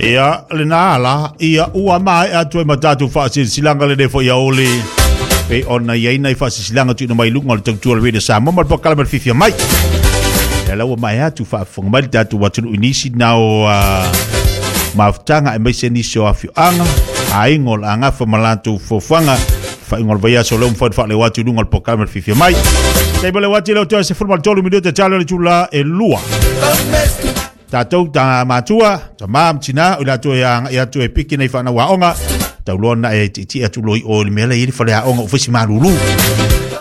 Ia, lena ala, ia ua maea atu ai ma tatou faasilasilaga lenei foi aoauli, pei ona i ai nai faasilasilaga tuuina mai i luga o le tautua o le Radio Samoa ma le polokalame o le Fiafia Mai. Ia la ua maea atu faafofoga mai le tatou atunuu i nisi na o mafutaga aemaise nisi o afioaga, aiga o le agafa ma latou fofoga faaiuga o le vaiaso lea ua mafai ona faaleo atu i luga o le polokalame o le Fiafia Mai. Taimi o le uati leo toe 13 minute talo le itula e 2. Tatou ta matua, tama ma tina, o i latou e agai atu e piki nei whanau aoga, tauloa na e tiiti atu loi o le mea le i le whare aoga o whaisi malulu.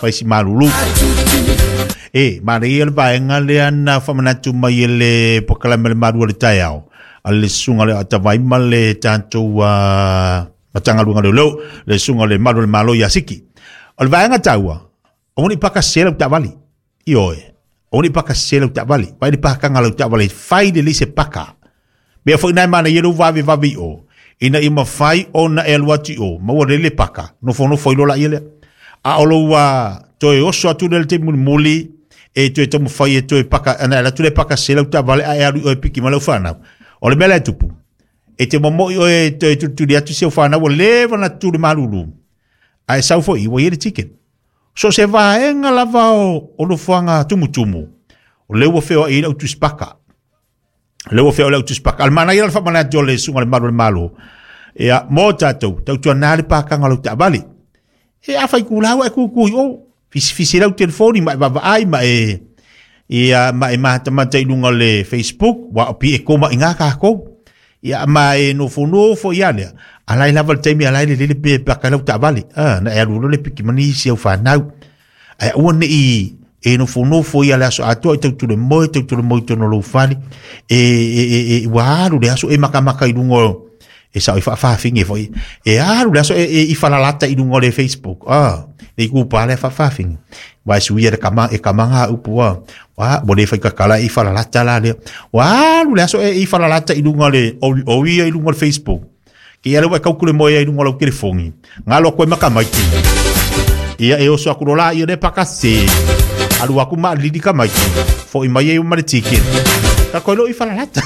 Whaisi malulu. E, manaia ia le vaega lea na whamanatu mai e le polokalame le malu o le taeao, a le susuga le atawai ma le tatou Matagaluega o Leoleo, le susuga le malu o le Malo ia Siki. O le vaega taua, aua ne i paka sese lau taavale. Ioe, aua ne i paka sese lau taavale. Vaai le pakaga o lau taavale, fai lelei se paka. Mea foi na e manaia lou vavevave i o, ina ia mafai ona e alu atu i o, maua lelei le paka, nofonofo ai loa laia lea. A o lou toe oso atu lea i le taimi mulimuli, e toe taumafai e toe paka, ana e alu atu lea e paka sese lau taavale, ae alu i o e piki mai lau fanau. O le mea la e tupu, e te momoi oe e toe tulituli atu si au fanau ua leva ona tutu i le malulu, ae sau foi ua i ai le ticket. So o se vaega lava o nofoaga tumutumu, o lea ua feoai ai le au tusipaka. O lea ua feoai le au tusipaka. A o le manaia la o le faamanatu o le susuga i le Malu o le Malo, ia, mo tatou, tautuana le pakaga o lau taavale. E a fai kula ua e kuku i o, fisifisi lau telefoni ma e vaavaai ma e ia ma e matamata i luga o le Facebook, wa o pi e koma i ngā kākou. Ia ma e nofonofo ia lea, a lai lava le taimi a lai le lele pe paka lau taavale. Ah, na e alu loa le piki mani isi au whanau. Ae aua ne i e nofonofo ia le aso atoa i tau tule moe, tau tule moe i tonu o lou fale. E, e, e, e, ua alu le aso e makamaka i luga o, e sao i faafaafine foi. E alu le aso e, e i falalata i luga o le Facebook. Ah, le i kupa le faafaafine. Wa e suia le kama, e kama ngā upu ah. Wa, ua le fai kakala e i falalata la lea. Ua alu le aso e i falalata i luga o le, o, o ia i luga o le Facebook. Ke ia le ua e kaukule moe ai i luga o lau telefoni. Ngalo koe maka maiki. Ia e oso aku lola ia le pakase. Alu aku ma lili ka maiki. Foi mai ai ma le ticket. Ka koe lo i falalata.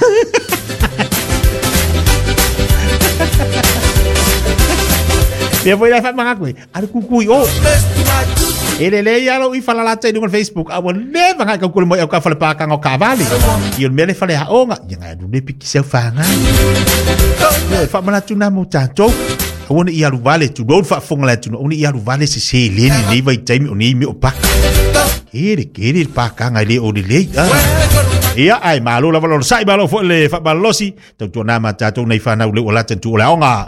Ia foi lai whaamanga koe. Alu kukui o. E le le ia lo i falalata i luga o le Facebook. A ua leva ngai kaukule moe au ka whale pākanga o Kavali. I o le mea le whale haonga. Ia ngai alu le piki seu whāngai. Ia, e whaamanatu nā mō tātou. Aua ne i alu vale, tulou le faafofoga le atunuu, aua ne i alu vale se seleni i lenei vaitaimi o nei mea o paka. Kere, kere le pakaga e le o lelei. Ah. Ia, ae malo lava le onosai, malo foi le faamalosi. Tautuana ma tātou nei whanau le ua lata tu o le aoga.